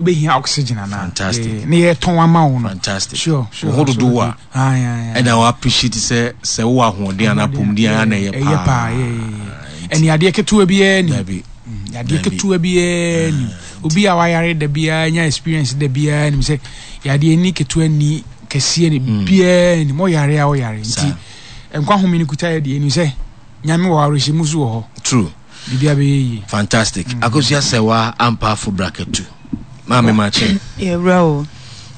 Wobɛhia oxygen anaa? Fantastic. Ne yɛtɔn ama wo no. Fantastic. Sure. Wo ho dodow a ɛna wo appreciate sɛ sɛ wowɔ ahoɔden anaa apɔmuden a na ɛyɛ paa. Ɛne adeɛ ketewa biara ni. Dabi. Adeɛ ketewa biara ni. Obi a wayare da biara nya experience da biara nim sɛ yadeɛ ni ketewa ni kɛseɛ ni biara ni. Mo yare a woyare nti nkwa home no kuta yɛ deɛ nim sɛ Nyame wɔ awerɛhyɛmu so wɔ hɔ. True. Biribiara bɛyɛ yie. Fantastic. Mm. Akosua Sɛwa Ampaafo Brakatu. Maame makye. Yɛwura o.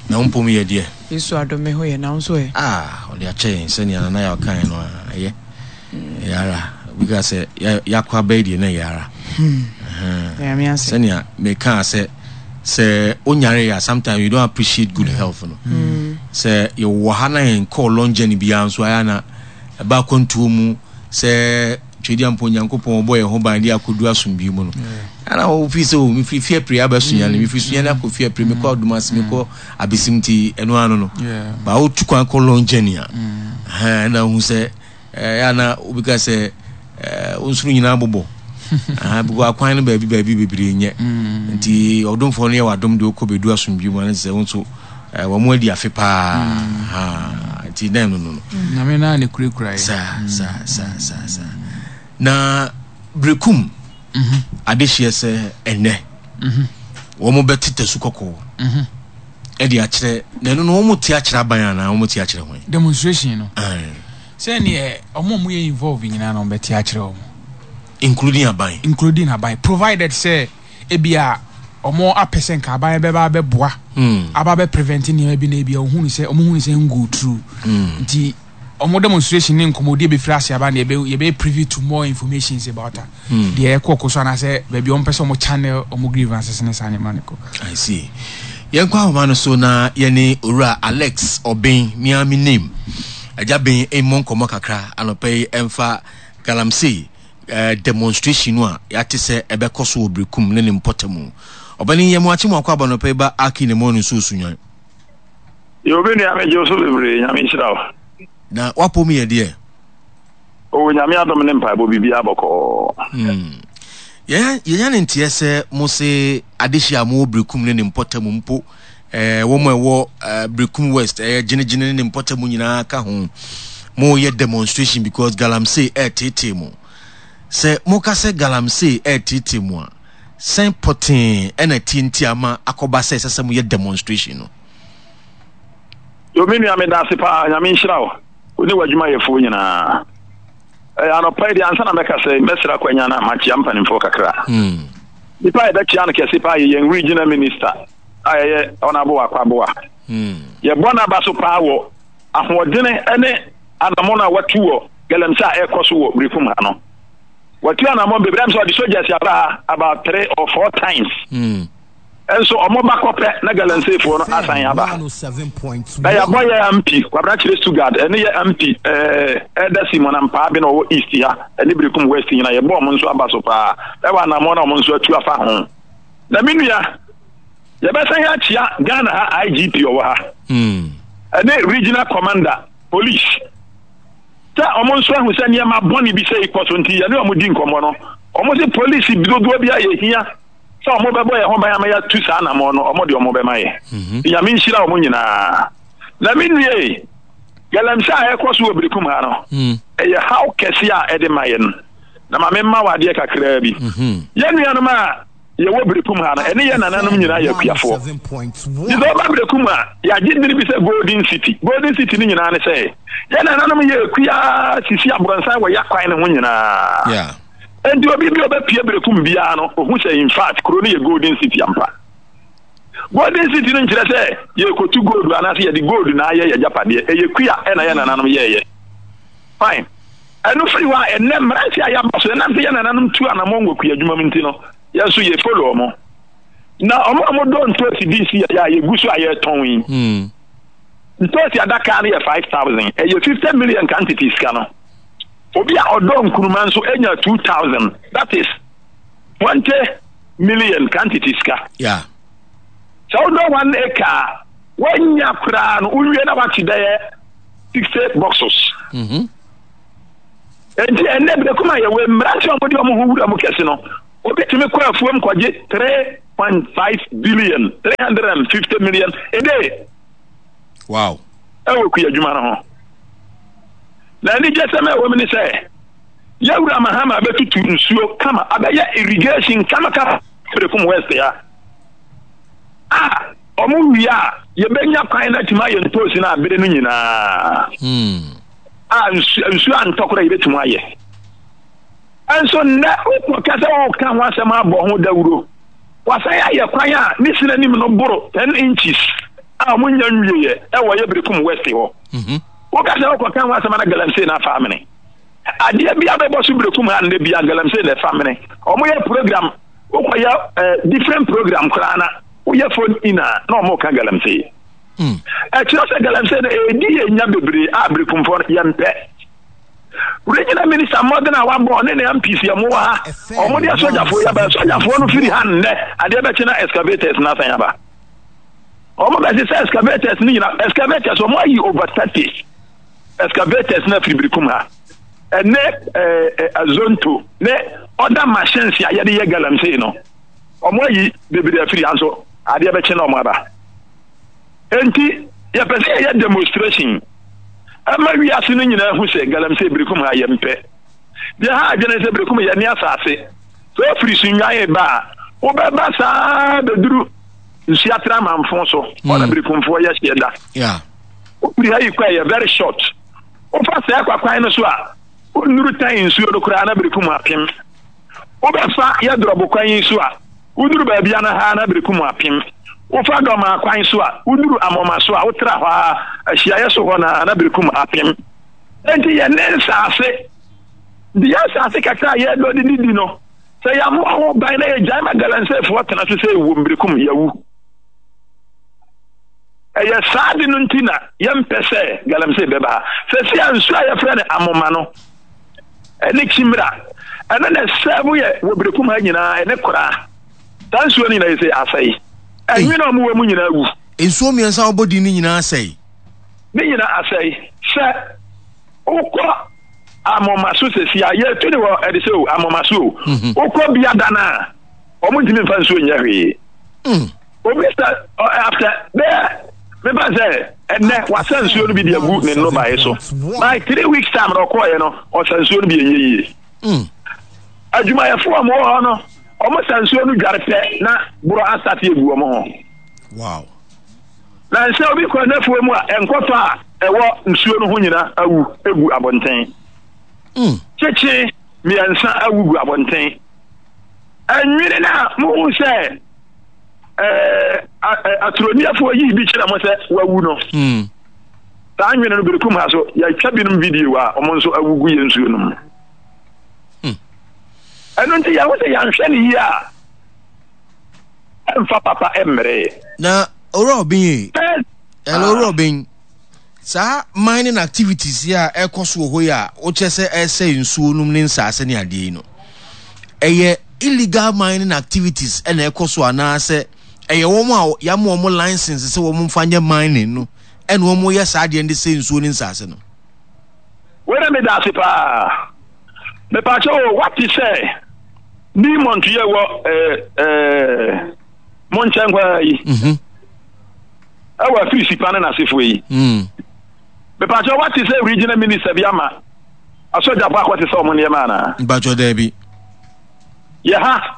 Na wo mpom yɛ deɛ? Yesu adom me ho yɛ na wo nso ɛ? Ah, ɔde akyɛ yɛn sɛnea Nana Yaw kaeɛ no a, ɛyɛ. Ɛyɛ ara. Obi ka sɛ yɛakɔ abɛɛ deɛ na ɛyɛ ara. Hmm. Nyame ase. Sɛnea mekaa sɛ sɛ wonyare a sometimes you don't appreciate good health no. Mm. Sɛ yɛwɔ ha na yɛn kɔɔ long journey biara nso ayɛ na ɛba akwantuo mu sɛ Twedeɛ mpo Onyankopɔn ɔbɔ yɛn ho ban de akɔdu asomdwie mu no ana wofii sɛ o mefiri fie apire aba Sunyani mm. mefiri Sunyani akɔ fie apire mekɔ Adumase mm. mekɔ Abesim nti ɛno ano no ba wotu kwan kɔ long journey a mm. ɛna wohu sɛ ɛyɛ ana obi ka sɛ wo nsoro nyinaa bobɔ because akwan no baabi baabi bebree nyɛ nti ɔdomfoɔ no yɛ wadom de wokɔ bɛdu asomdwie mu ano sɛ wo nso wɔn adi afe paa nti dɛn no no no. Nyame naa ne kurakura yɛ. Saa saa saa saa saa na berekum mhm. adehyeɛ sɛ ɛnɛ mhm. wɔn bɛte tasu kɔkɔɔ mhm. ɛde akyerɛ na ɛno no wɔn te akyerɛ aban anaa wɔn te akyerɛ hɔn. Demonstration no. Sɛ neɛ wɔn a wɔyɛ involve nyinaa na wɔn bɛte akyerɛ wɔn. Including aban. Including aban provided sɛ. Ebia wɔn apɛ sɛ nka aban bɛba abɛboa hmm. aba abɛ prevent nneɛma bi na ebia ohun sɛ wɔn hu sɛ ngo true hmm. nti wɔn demonstration ne nkɔmɔdi ebɛfiri ase aba na yɛbɛ yɛbɛ privy to more information about that hmm. deɛ ɛkɔ kɔ so anaasɛ baabi wɔn pɛ sɛ wɔn channel wɔn grievances ne saa nneɛma ne kɔ. I see yɛn kɔ ahoma no so na yɛne owura Alex Ɔben miami name agya ben mmɔ nkɔmɔ kakra anɔpɛ yi ɛmfa galamsey. demonstration no a yɛate sɛ ɛbɛkɔ so wɔ Berekum ne ne mpɔtamu. Ɔpanin Yɛmoakye Moakɔ aba nɔpa yi ba Aki ne Mɔno nso Osunwan. Yo me nua megye wo so bebree Nyame nhyira wo. Na wapɔ mu yɛ deɛ? Oh Nyame adom ne mpaebɔ biribiara bɔkɔɔ. Hmm. Yɛnya ne nteɛ sɛ mo se adehye a mowɔ Berekum ne ne mpɔtamu mpo eh, wɔn a ɛwɔ eh, Berekum West ɛyɛ eh, gyinagyina ne ne mpɔtam nyinaa ka ho moyɛ demonstration because galamsey ɛreteetee mo sɛ moka sɛ galamsey ɛreteetee mo a sɛn pɔtee ɛna tie nti ama akɔba sɛ ɛsɛ sɛ moyɛ demonstration no. Yo me nua meda ase paa nyame nhyira wo wo ne w'adwumayɛfoɔ nyinaa ɛyɛ anɔpa yi deɛ ansa na mɛka sɛ mɛsrɛ akwanya na makyea mpanimfoɔ kakra hmm. nipa a yɛbɛkyea no kɛse paa yɛ yɛn regional minister a ɛyɛ Honourable Akwaboa. Hmm. Yɛbɔ n'aba so paa wɔ ahoɔdene ne anammɔn a watu wɔ galamsey a ɛrekɔ so wɔ Berekum ha no. Watu anammɔn bebree am sɛ ɔde soldiers aba ha about three or four times. Hmm. Nso ɔmo ba kɔpɛ na galamseyfoɔ no asan aba. Na yɛabɔ yɛ MP Kwabena Kyerɛ Stuttgart ɛne yɛ MP ɛɛ Elder Simon Ampaa bi na ɔwɔ East ha ɛne Berekum West nyina yɛbɔ ɔmo nso aba so paa ɛwɔ anammɔn a ɔmo nso atu afa ho. Na me nua, yɛbɛsan akyia Ghana ha IGP ɔwɔ ha hmm. ɛne regional commander police sɛ ɔmo nso ahu sɛ nneɛma bɔne bi sɛ ikɔ so nti yɛne ɔmo di nkɔmmɔ no ɔmo se polisi dodoɔ bi a yɛhia sɛ ɔmo bɛbɔ yɛn ho ban ama yɛatu saa anamɔ no ɔmo de ɔmo bɛma yɛ mhm. Nyame nhyira ɔmo nyinaa na me nua yi galamsey a ɛkɔ so wɔ Berekum ha no hmm. ɛyɛ haw kɛse a ɛde ma yɛn na ma memma wo adeɛ kakraa bi. Mhm. Yɛn nuanom a yɛwɔ Berekum ha no, ɛne yɛn nananom nyinaa yɛ akuafoɔ. Nti sɛ woba Berekum a, yɛagye dini bi sɛ Golden City. Golden City no nyinaa ne sɛ, yɛn nananom yɛ akua sisi aborɔnsan wɔ yɛakwan no ho nyinaa. Yeah. Enti obi bi a ɔbɛpie Berekum biara no, ohu sɛ in fact kuro no yɛ Golden City ampa. Golden City no nkyerɛ sɛ yɛrekɔtu gold anaasɛ yɛde gold na ayɛ yɛn agyapadeɛ. Ɛyɛ kua ɛna yɛn nananom yɛɛyɛ. Fine. Ɛno firi hɔ a, ɛnnɛ mmeranteɛ a yɛaba so, ɛnam sɛ yɛn nananom tu anammɔn wɔ kuadwuma mu nti no, yɛn nso yɛ follow wɔn. Na wɔn a wɔdɔ ntoosi di si yɛ a yɛgu so a yɛretɔn yi. Hmm. Ntoosi adaka no yɛ 5,000, ɛyɛ 50 million quantity sika no. Obi a ɔdɔ nkuruma nso anya 2,000, that is 20 million quantity sika. Yeah. Sɛ wodɔ one acre a, woanya koraa no, wowie na woate bɛyɛ 60 boxes. Mm -hmm. Enti ɛnnɛ berekum a yɛwɔ mmerante a wɔde wɔn ho wura mu kɛse no, Obi tumi kɔ afuom kɔgye 3.5 billion, 350 million a day. Wow. Ɛwɔ kuadwuma no ho. Na anigyesɛm a ɛwɔ mu ne sɛ, Yɛwura Mahama abɛtutu nsuo kama, abɛyɛ irrigation kamakama Berekum West ha. A wɔn wie a, yɛbɛnya kwan no atumi ayɛ ntoosi no abere no nyinaa. Hmm. A nsuo nsuo antɔ koraa yɛbɛtumi ayɛ. Nso nnɛ wokɔka sɛ woka ho asɛm abɔ ho dawuro. Wasan ayɛ kwan a ne sini anim no boro 10 inches a wɔn nya nwieɛ ɛwɔ yɛ Berekum West hɔ. Mhm. Woka sɛ wokɔka ho asɛm ana galamsey na afa amene. Adeɛ bi abɛbɔ so Berekum ha nnɛ bia galamsey na ɛfa mene. Wɔn yɛ program wokɔyɛ eh, different program koraa na woyɛ phone in a na wɔn ka galamsey. Mm. Ɛkyerɛ sɛ galamsey no ɛredi yɛn nya bebree a Berekumfoɔ no yɛmpɛ. Regional minister mmɔden a wabɔ ne ne MPs yɛ mo wɔ ha. Wɔn de asogyafoɔ yi aba. Asogyafoɔ no firi ha nnɛ adeɛ bɛkye na excavators no asan aba. Wɔn bɛsesa excavators no nyina excavators wɔn ayi over 30 excavators no afiri Birikum ha. Ɛne ɛɛ azonto ne other machines a yɛde yɛ galamsey no. Wɔn ayi bebree afiri ha nso adeɛ bɛkye na wɔn aba. Enti yɛpɛ sɛ yɛyɛ demonstration ɛma wiase no nyinaa hu sɛ galamsey Birikum ha yɛmpɛ. Deɛ ha adwene sɛ Birikum yɛne asase. Sɛ wofiri Sunnwan ba a, wobɛba saa bɛduru Nsuatre Amanfo so. Hɔ na mm. Birikumfoɔ yɛ hyeɛ da. Yeah. Wofiri ha yi kɔ ɛyɛ very short. Wofa saa kwakwan no so a, wonnuru tan nsuo no koraa na Birikum apem. Wobɛfa yɛ drɔbo kwan yi so a, woduru baabi a na ha na Birikum apem. Wofa Dɔmaa kwan so a, woduru Amoma so a, wotra hɔ ara, ahyiaeɛ so hɔ no ara na Birikum apem. Enti yɛne nsaase, de yɛn nsaase kakra a yɛdɔ de didi no, sɛ yɛammɔ ho ban na yɛgyae ma galamseyfoɔ tena so sɛ ɛwom Birikum, yɛawu. Ɛyɛ saa ade no nti na yɛmpɛ sɛ galamsey bɛba ha. Sɛsi a nsuo a yɛfrɛ no Amoma no, ɛne Kyimra, ɛno na ɛsɛɛbo yɛ wɔ Berekum ha nyinaa, ɛne Koraa. Saa nsuo no nyinaa yɛ sɛ asɛe. Ɛnwene a wɔwɔ mu nyinaa wu. Nsuo mmiɛnsa a wɔbɔ din no nyinaa asɛe. Ne nyinaa asɛe. Sɛ wokɔ Amoma so sɛsi a, yɛtu ne wɔ ɛde sɛ o, Amoma so o. Mhm. Wokɔ Biada no a, wɔn ntumi mfa nsuo nyɛ hwee. Mm. Obi sɛ after bɛyɛ mefa sɛ ɛnɛ wasa nsuo no bi de agu ne nnɔbaeɛ so by 3 weeks time na ɔkɔɔeɛ no ɔsa nsuo no bi ɛnyɛ yie. Adwumayɛfoɔ a wɔwɔ hɔ no wɔn sa nsuo no dware pɛ na borɔ asate egu wɔn ho. Wow. Na nsɛ obi kɔ n'afuo mu a nkɔtɔ a ɛwɔ nsuo no ho nyina awu egu abɔnten. Kyekye mmiɛnsa awu gu abɔnten. Ɛnwene no a muhu sɛ aturoniafoɔ yii bi kyerɛ mo sɛ wawu no. Saa nwene no Berekum ha so yɛatwa binom video a wɔn nso awu gu yɛn nsuo no mu. Ɛno nti yɛho sɛ yɛanhwɛ no yie a ɛmfa papa mmeree. Na Owura Obeng e, hello Owura Obeng, saa mining activities yi a ɛkɔ so wɔ hɔ yi a wokyerɛ sɛ ɛresɛe nsuo nom ne nsaase ne adeɛ yi no, ɛyɛ illegal mining activities ɛna ɛkɔ so anaasɛ ɛyɛ wɔn a yɛama wɔn license sɛ wɔn mfa nyɛ mining no ɛna wɔn yɛ saa adeɛ no de sɛ nsuo ne nsaase no? Wei na meda ase paa. Mepaakyɛ o, wate sɛ Newmont yɛ wɔ ɛɛ ɛɛ mo nkyɛn kwaa yi. Mhm. Ɛwɔ afiri sipa ne n'asefoɔ yi. Mm. Mepaakyɛ wate sɛ regional minister bi ama asɔgyafo akɔte sɛ ɔmo nneɛma anaa? Mpakyɛ daabi. Yɛ ha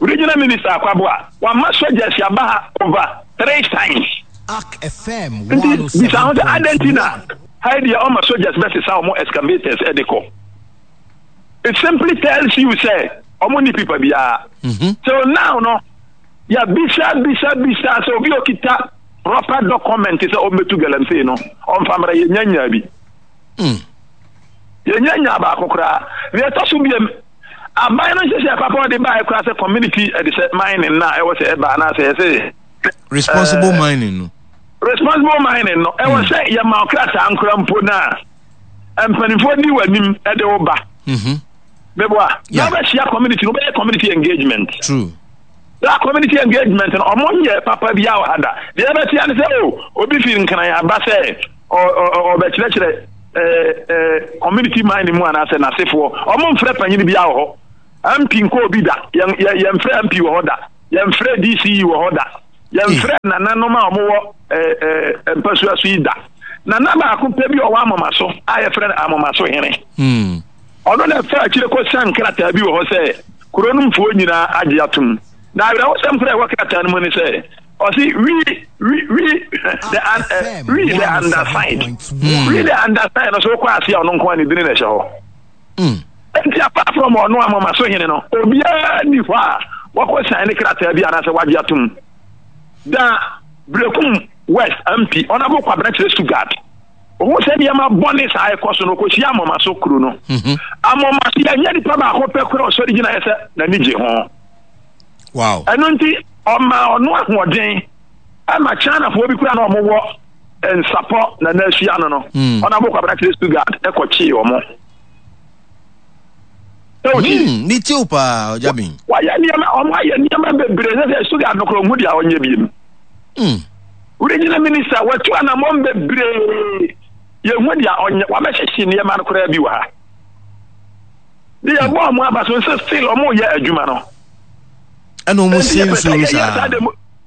regional minister Akwaboa wama soldiers aba ha over three times. Ark FM Nti bisa ho sɛ adɛn nti na 107.1. ha yi deɛ ɔma soldiers bɛsesa ɔmo excavators ɛde kɔ. It simply tells you sɛ ɔmo ni pipa biara. Mhm. So now no yɛbisa bisa bisa sɛ obi a okita proper document sɛ ɔmmɛtu galamsey no ɔmfa mmra, yɛnya nyaa bi. Mm. Yɛnya nyaa baako koraa. Deɛ ɛtɔ so biam, aban no nhyehyɛ papa ɔde baeɛ koraa sɛ community ɛde sɛ mining na ɛwɔ sɛ ɛba anaasɛ ɛsɛ Responsible mining no. Responsible mining no ɛwɔ sɛ yɛma ɔkrataa nkora mpo no a mpanimfoɔ di w'anim ɛde wo ba. Mhm. Meboa. Yeah. Na wobɛhyia community no, wobɛyɛ community engagement. True. That community engagement no, ɔmo nyɛ papa bi a wɔ ha da. Deɛ ɛbɛtea ne sɛ o, obi firi Nkran aba sɛ ɔbɛkyerɛkyerɛ community mining mu anaasɛ n'asefoɔ. Ɔmo mfrɛ panyin bi a wɔ hɔ. MP nkɔ obi da. Yɛn yɛ yɛnfrɛ MP wɔ hɔ da. Yɛnfrɛ DCE wɔ hɔ da. Yɛnfrɛ nananom a wɔwɔ ɛɛ ɛɛ mpasua so yi da. Nana baako pɛ bi a ɔwɔ Amomaso a yɛfrɛ no Amomaso hene. Hmm. Ɔno na ɛfaa akyire kɔsian krataa bi wɔ hɔ sɛ kuro no mfoɔ nyinaa agye atom. Na awerɛhosɛm koraa a ɛwɔ krataa no mu ne sɛ, ɔse we, we, we, the, uh, we the undersigned. We the undersigned no so wokɔ ase a ɔno nko a ne dini na ɛhyɛ hɔ. Enti apart from ɔno Amomaso hene no, obiara nni hɔ a wakɔ sign ne krataa bi anaasɛ wagye atom. Da Berekum West MP, Honourable Kwabena Kyerɛ Sugard, Ohun sɛ nneɛma bɔne saa ɛkɔ so no, ɔkɔhyia Amomaso kuro no. Mhm. Amomaso yɛnyɛ nipa baako pɛ kora ɔsɔre gyinaeɛ sɛ n'ani gye ho. Wow. Ɛno nti ɔmaa ɔno ahoɔden ɛma Chinafoɔ bi kora na ɔmowɔ nsapɔ na n'ahyia no no. Mm. Ɔnabo Kwabena kyerɛ Stuttgart ɛkɔkyee ɔmo. Sɛ wotie? Ne tiw paa ɔgya bin. Wayɛ nneɛma, ɔmo ayɛ nneɛma bebree sɛ sɛ Stuttgart no kora ɔmo deɛ ɔnyɛ biem. Regional minister watu anamɔn bebree yɛhu deɛ ɔnyɛ wabɛhyehye nneɛma no koraa bi wɔ ha de yɛbɔ ɔmo aba so nso still ɔmo yɛ adwuma no ɛna ɔmo sie nsuo no saa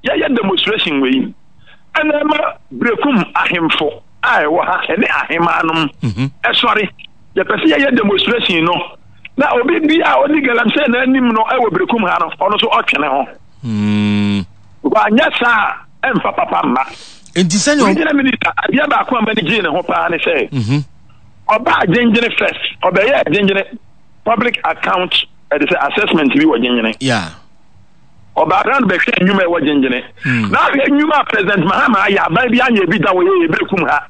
yɛyɛ demonstration wei ɛna ɛma brekum ahemfo a ɛwɔ ha ɛne ahemaanom mhm. ɛsɔre yɛpɛ sɛ yɛyɛ demonstration no na obi bi a ɔdi galamsey n'anim no ɛwɔ brekum ha no ɔno nso ɔtwe ne ho mm. Wanyɛ saa a, ɛmfa papa mma. Enti sɛnea Regional minister, adeɛ baako a m'ani gyee ne ho paa ne sɛ, mhm. ɔbaa Gyengyene first, ɔbɛyɛɛ Gyengyene public account ɛde sɛ assessment bi wɔ Gyengyene. Yeah. Ɔbaa round bɛhwɛ nnwuma ɛwɔ Gyengyene. Mm. Na ahwɛ nnwuma a President Mahama ayɛ aban bi anyɛ bi da wɔ yɛ yɛbɛkum ha.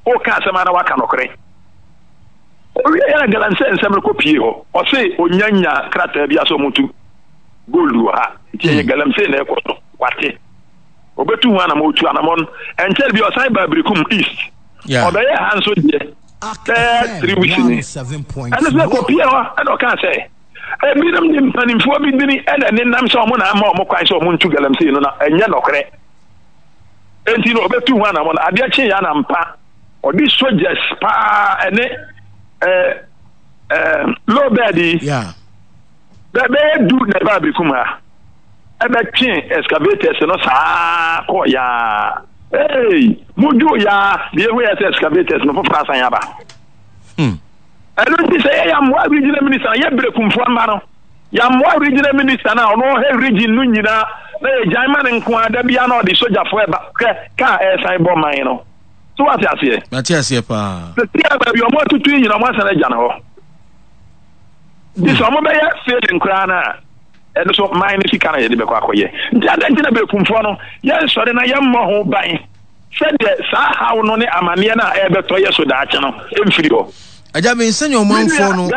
Woka asɛm a na waka nɔkorɛ. Owie yɛ na galamsey nsɛm no kɔ pie hɔ. Ɔse onyanya krataa bi asɛ ɔmotu. Gold wɔ ha nti ɛyɛ galamsey na ɛkɔ so wate ɔbɛtu ho anamɔ ɔtu anamɔ no ɛnkyɛre bi ɔsan baa Birikum East ɔbɛyɛ ha nso deɛ bɛyɛ 3 weeks ni ɛno sɛ kɔpie hɔ ɛna ɔkaa sɛ ebinom de mpanimfoɔ bi dini ɛna nenam sɛ ɔmo na ama ɔmo kwan sɛ ɔmo ntu galamsey no na ɛnyɛ nɔkorɛ enti no ɔbɛtu ho anamɔ no adeɛ kye yɛ anampa ɔde soldiers paa ɛne ɛɛ ɛɛ low bed yi. Yeah. Bɛyɛ du na ɛbaa Bekum ha. Ɛbɛtwe excavators no saa kɔɔ yaa. Hey, modwoo yaa, deɛ ehu yɛ sɛ excavators no foforɔ asan aba. Hmm. Ɛno nti sɛ yɛ yɛammoa regional minister no, yɛ Berekumfoɔ mma no, yɛammoa regional minister no a ɔno ɔhwɛ region no nyinaa na yɛgyae ma no nko ara da biara na ɔde sogyafoɔ ɛba hwɛ kaa ɛresan bɔ man no. So wate aseɛ? Mate aseɛ paa. Sɛ tia baabi ɔmo atutu yi nyina ɔmo asan agya no hɔ. Nti sɛ wɔbɛyɛ failing koraa no a, ɛno so man no sika na yɛde bɛkɔ akɔyɛ. Nti adɛn nti na berekumfoɔ no yɛnsɔre na yɛmmɔ ho ban sɛdeɛ saa haw no ne amanneɛ no a ɛrebɛtɔ yɛ so daakye no mfiri hɔ? Agya Ben, sɛnea ɔmanfoɔ no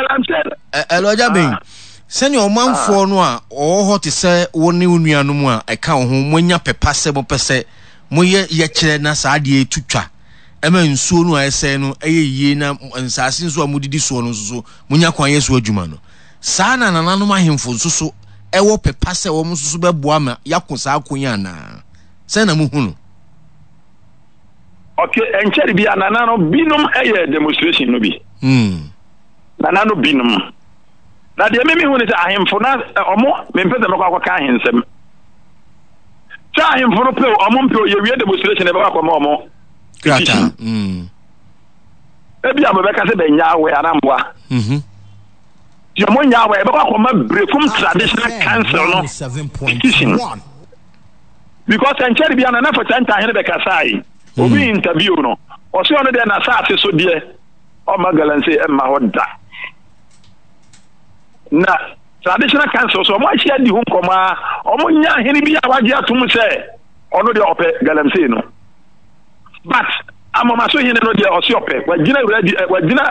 ɛlɔ Agya Ben, ah. sɛnea ɔmanfoɔ ah. no a ɔwɔ hɔ te sɛ wo ne wo nuanom a ɛka wo ho moanya pɛpa sɛ mopɛ sɛ moyɛ yɛkyerɛ na saa adeɛ tu twa ɛma nsuo no a ɛsɛe no yɛ yie na nsaase nso a modidi soɔ no nso so monya kwan yɛ so adwuma no, saa na nananom ahemfo nso so wɔ pɛ pa sɛ wɔn nso so bɛboa ma yɛako saa ko yi anaa? Sɛn na mohu no? Ok, ɛnkyɛre bi a nananom binom yɛ demonstration no bi. Hmm. Nananom binom. Na deɛ mimi hu ne sɛ ahemfo na ɔmo mempɛ sɛ mɛkɔ akɔka ahensɛm. Sɛ ahemfo no pɛ o, ɔmo mpɛ o, yɛwie demonstration ɛbɛkɔ akɔma ɔmo petition. Mm. Ebi a mobɛka sɛ bɛnya awɛ anaa mmoa. Mm-hmm. Deɛ ɔmo nya awɛ ɛbɛkɔ akɔma Berekum Traditional Council no petition. Because ɛnkyɛre bi a Nana Fɔkyɛ Ntahene bɛkasae. Mm. Obi interview no. Ɔse ɔno deɛ n'asaase so deɛ ɔmma galamsey ɛmma hɔ da. Na Traditional council so wɔn ahyia di ho nkɔmɔ a wɔn nya ahene bi a wagye atom sɛ ɔno deɛ ɔpɛ galamsey no but amomaso hene no deɛ ɔse ɔpɛ wagyina wura di eh, wagyina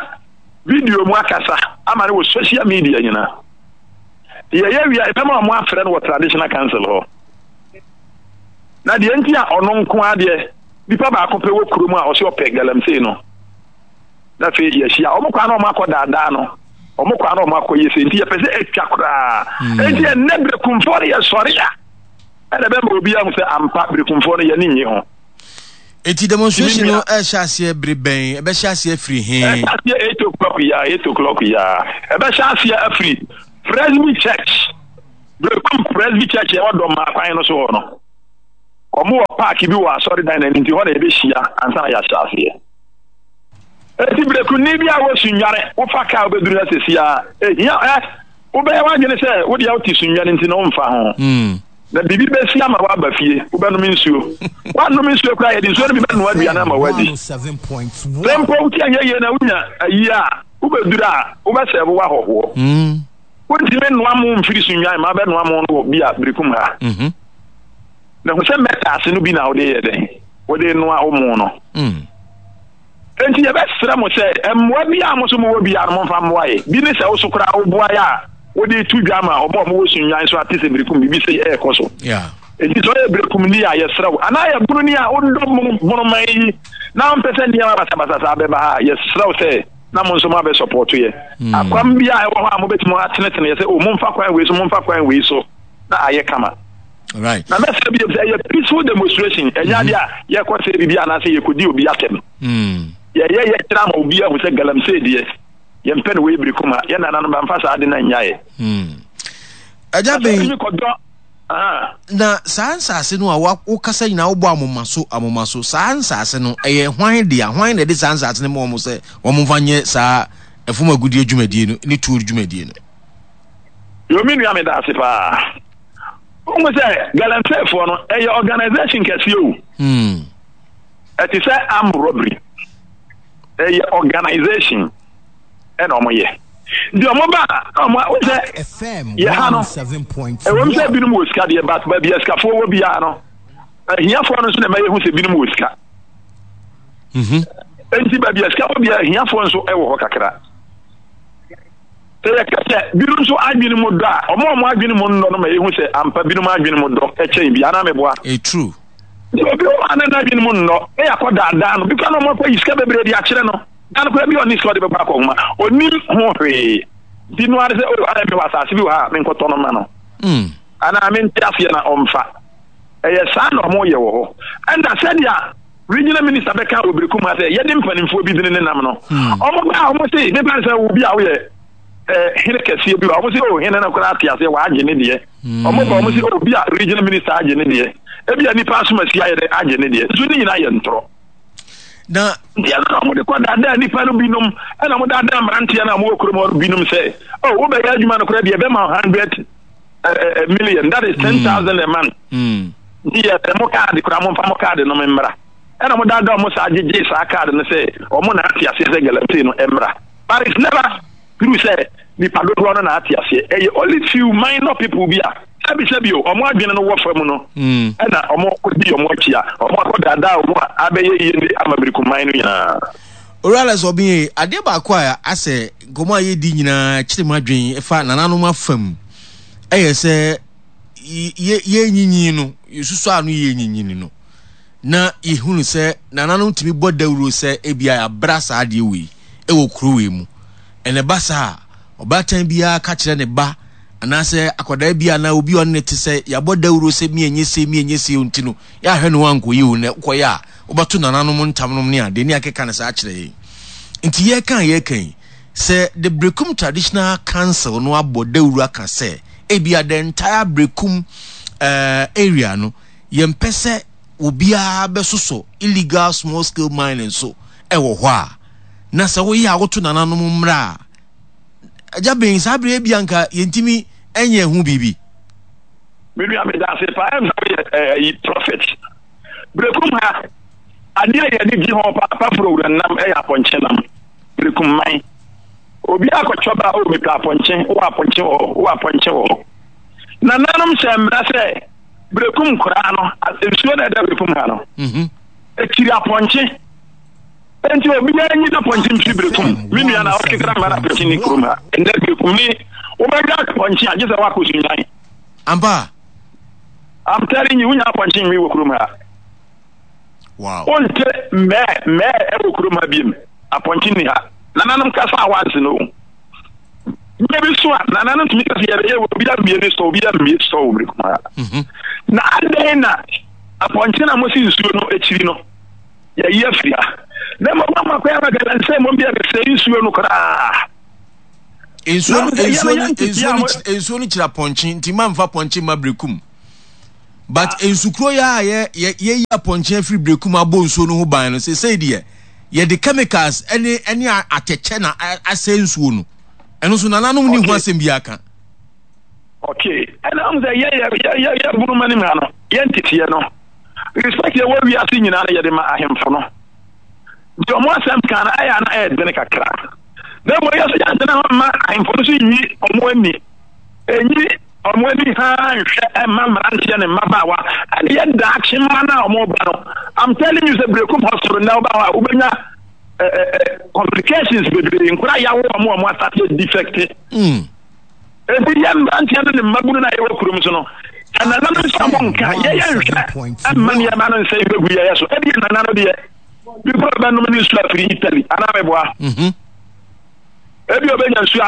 video mu akasa ama no wɔ social media nyinaa yɛyɛ wia ɛbɛma wɔn afrɛ no wɔ traditional council hɔ na deɛ nti a ɔno nko adeɛ nipa baako pɛ wɔ kurom a ɔse ɔpɛ galamsey no na afei yɛahyia wɔn kwan na wɔn akɔ daadaa no wɔn kwan na wɔn akɔ yɛ sɛ nti yɛpɛ sɛ atwa koraa hmm. nti ɛnɛ berekumfoɔ no yɛsɔre a ɛna bɛma obi ahu sɛ ampa berekumfoɔ no yɛne nye ho. Eti demonstration no ɛhyɛ aseɛ bere bɛn ɛbɛhyɛ aseɛ afiri he. Ɛhyɛ aseɛ 8 o'clock ya 8 o'clock ya ɛbɛhyɛ aseɛ afiri. Presby Church, Berekum Presby Church ɛwɔ Dɔmaa kwan no so hɔ no. Wɔn wɔ park bi wɔ asɔredan no anim nti hɔ na yɛbɛhyia ansa na yɛahyɛ aseɛ. Eti Berekumni bi a wɔ Sunyani, wofa kaa wobɛduru ha sɛsi a, ehia ɛ wobɛyɛ w'adwene sɛ wo deɛ wote Sunyani nti no womfa ho. Hmm. Na biribi bɛsi ama woaba fie, wobɛnom nsuo. Woannom nsuo koraa yɛde nsuo no bi bɛnoa aduane ama woadi. Sɛ mpo wote anyɛ yie na wonya ayi a, wobɛduru a wobɛsɛɛvo w'ahɔhoɔ. Hmm. Wontumi nnoa mo mfiri Sunyani ma wobɛnoa mo no wɔ bi a Berekum ha. Mhm. Na hu sɛ mɛtaase no bi na wode yɛ dɛn? Wode noa wo mo no. Mm. Enti yɛbɛsrɛ mo sɛ mmoa bi a mo nso mowɔ biara no momfa mmoa yɛ. Bi ne sɛ wo so koraa woboa yɛ a wode to dwa ama wɔn a wɔwɔ Sunnwan so ate sɛ Berekum biribi sei ɛrekɔ so. Yeah. Enti sɛ ɔyɛ Berekumni a yɛsrɛ wo, anaa yɛ Bononi a wodɔ Bonoman yi na wompɛ sɛ nneɛma basabasa saa bɛba ha a, yɛsrɛ wo sɛ na mo nso moabɛsɔpɔɔto yɛ. Mm. Akwam bi a ɛwɔ hɔ a mobɛtumi atenetene yɛ sɛ, o momfa kwan wei so, momfa kwan wei so na ayɛ kama. Right. Na mɛsrɛ bio sɛ ɛyɛ peaceful demonstration, ɛnyɛ adeɛ a yɛkɔ sɛ biribi anaasɛ yɛkɔdi obi atɛm. Mm. Yɛyɛ yɛkyerɛ ama obi ahu sɛ galamsey deɛ yɛmpɛ no wei bere kuma yɛn nananom bɛmfa saa ade no anyaeɛ. Mm. Agya bɛn kɔdɔ na saa nsase no a wokasa nyinaa wobɔ amoma so amoma so saa nsase no ɛyɛ hwan dea hwan na ɛde saa nsase no ma wɔn sɛ wɔn mfa nyɛ saa ɛfom agudie dwumadie no ne tuo dwumadie no. Yo me nua meda ase paa. Wohu sɛ galamseyfoɔ no ɛyɛ organisation kɛseɛ o. Hmm. Ɛte sɛ armed robbery. Ɛyɛ organisation ɛna wɔn yɛ. Nti wɔn ba a wɔn wo sɛ yɛ ha no ɛwɔm sɛ binom wɔ sika deɛ but baabi a sikafoɔ wɔ biara no ahiafoɔ no nso na ɛma yɛhu sɛ binom wɔ sika. Mhm. Nti baabi a sika wɔ biara ahiafoɔ nso ɛwɔ hɔ kakra. Sɛ yɛka sɛ binom nso adwene mu dɔ a, wɔn a wɔn adwene mu nnɔ no ma yehu sɛ ampa binom adwene mu dɔ kyɛn bi, anaa meboa? Ɛyɛ true. Nti obi wɔ hɔ a na n'adwene mu nnɔ, na yɛakɔ daadaa no, bi koraa na wɔakɔyi sika bebree de akyerɛ no, da no koraa bi a ɔnni sika a ɔde bɛkɔ akɔhoma, ɔnnim ho hwee. Nti no ara ne sɛ, oh, ayɛ mewɔ asase bi wɔ ha a, menkɔtɔ no mma no. Mm. Anaa mente aseɛ na ɔmfa. Ɛyɛ saa na wɔyɛ wɔ hɔ. Ɛnna sɛdeɛ Regional minister bɛka wɔ Berekum ha sɛ yɛde mpanimfoɔ bi dini ne nam no. Wɔn ba a wɔn se mefa no sɛ obi a woyɛ eh, hene kɛseɛ bi wɔn se oh hene no koraa te aseɛ wagye ne deɛ. Wɔn ba wɔn se oh bi a regional minister agye ne deɛ. Ebi a nipa asomasi ayɛ dɛ agye ne deɛ. Nso ne nyinaa yɛ ntorɔ. Na nti ɛno na wɔde kɔ daadaa nipa no binom ɛna wɔn daadaa mmeranteɛ no a wɔwɔ kurom hɔ no binom sɛ oh wobɛyɛ adwuma no koraa deɛ ɛbɛma 100 million that is 10,000 a month. Mm. Nti yɛ sɛ mo kaade koraa momfa mo kaade no mmra. Ɛna mo daadaa ɔmo saa gyegyee saa kaade no sɛ ɔmo na ate aseɛ sɛ galamsey no mmra. But it's never true sɛ nipa dodoɔ no na ate aseɛ. Ɛyɛ only few minor people bi a sɛbi sɛbi o ɔmo adwene no wɔ fam no ɛna ɔmo kɔdi ɔmo akyi a ɔmo akɔ daadaa ɔmo a abɛyɛ yie ne ama Birikumman no nyinaa. Owura Alex Obeng, adeɛ baako a asɛ nkɔmmɔ a yɛdi nyinaa kyere m'adwene ɛfa nananom afam ɛyɛ sɛ yɛnyinyin no, yɛsusu ano yɛnyinyin no, na yɛhunu sɛ nananom tumi bɔ dawuro sɛ ebia yɛabra saa adeɛ wei ɛwɔ kuro wei mu. Ɛna ɛba saa a, ɔbaatan biara ka kyerɛ ne ba anaasɛ akwadaa bi anaa obi a ɔne ne te sɛ yɛabɔ dawuro sɛ miɛnyɛ sei miɛnyɛ sei nti no yɛahwɛ ne ho ankɔyɛ o na wokɔyɛ a wobɛto nananom ntam nom ne adeɛ ne akeka no saa kyerɛ yɛn. Nti yɛka a yɛka yi Sɛ the Berekum Traditional Council no abɔ dawuru aka sɛ ebia the entire Berekum eh, area no, yɛmpɛ sɛ obiara bɛsosɔ illegal small scale mining so ɛwɔ hɔ a, na sɛ woyɛ a woto nananom mmra a, agya ben saa bere ebia nka yɛntumi nyɛ ho biribi. Me nua meda ase paa ɛm sɛ woyɛ ɛyi eh, prophet. Berekum ha adeɛ a yɛde gye ho paa paforo wura nam ɛyɛ apɔnkye nam. Berekum man. Obi akɔtɔ ba o mepɛ apɔnkye, wowɔ apɔnkye wɔ hɔ, wowɔ apɔnkye wɔ hɔ. Nananom hyɛ mmara sɛ Berekum nkoraa no, nsuo na ɛda Berekum ha no, mhm. ɛkyiri apɔnkye. Enti obiara nyi n'apɔnkye mfiri Berekum. Me nua na ɔkekra mmara apɔnkye ne kurom ha. Ɛnnɛ Berekum ni, wobɛdwa apɔnkye a gye sɛ woakɔ Sunyani. Ampa. I'm telling you, wonya apɔnkye nwi wɔ kurom ha. Wow. Wonte mmɛɛ mmɛɛ ɛwɔ kurom ha biem. Apɔnkye nni ha. Nananom kasa a once no. Bere bi so a nananom tumi kasa yɛbɛyɛ wɔ obi ammie ne sɔ obi ammie sɔ wɔ kurom ha. Mhm. Na adɛn na apɔnkye na mosi nsuo no akyiri no yɛyi afiri ha. Na mmom ama kwan ama galamsey mmom deɛ bɛsɛe nsuo no koraa. Nsuo no nsuo no nsuo no nsuo no kyerɛ apɔnkye nti ma nfa pɔnkye mma berekum. But ah. nsukuro yɛ a yɛ yɛ yɛyi apɔnkye afiri berekum abɔ nsuo no ho ban no sesei deɛ yɛde chemicals ɛne ɛne atɛkyɛ na asɛ nsuo no. Ɛno nso nananom ni ho asɛm bi aka. Okay, ɛna ahun sɛ yɛ yɛ yɛ yɛ yɛ bunu ma ne mu ha no yɛ nteteɛ no respect yɛ wɔ wiase nyinaa no yɛde ma ahemfo no. Nti wɔn asɛm kan no ɛyɛ a na ɛyɛ den kakra. Na mmom yɛ so yɛantena hɔ mma ahemfo no so nyi wɔn ani, enyi wɔn ani haa nhwɛ mma mmeranteɛ ne mmabaawa ɛne yɛ daakye mma no a wɔn ba no. I'm telling you sɛ Berekum Hospital nnɛ woba hɔ a wobɛnya eh, eh, eh, complications bebree nkora yawo wɔn a wɔn asate defect. Mm. Enti yɛn mmeranteɛ no ne mmabunu no a yɛwɔ kurom so no, sɛ nananom nso a monka, yɛyɛ nhwɛ mma nneɛma no nsɛe bɛgu yɛyɛ so. Ebia nana no deɛ, bi kora ɔbɛnom ne nsuo afiri Italy, anaa meboa? Mhm. Ebia ɔbɛnya nsuo ano.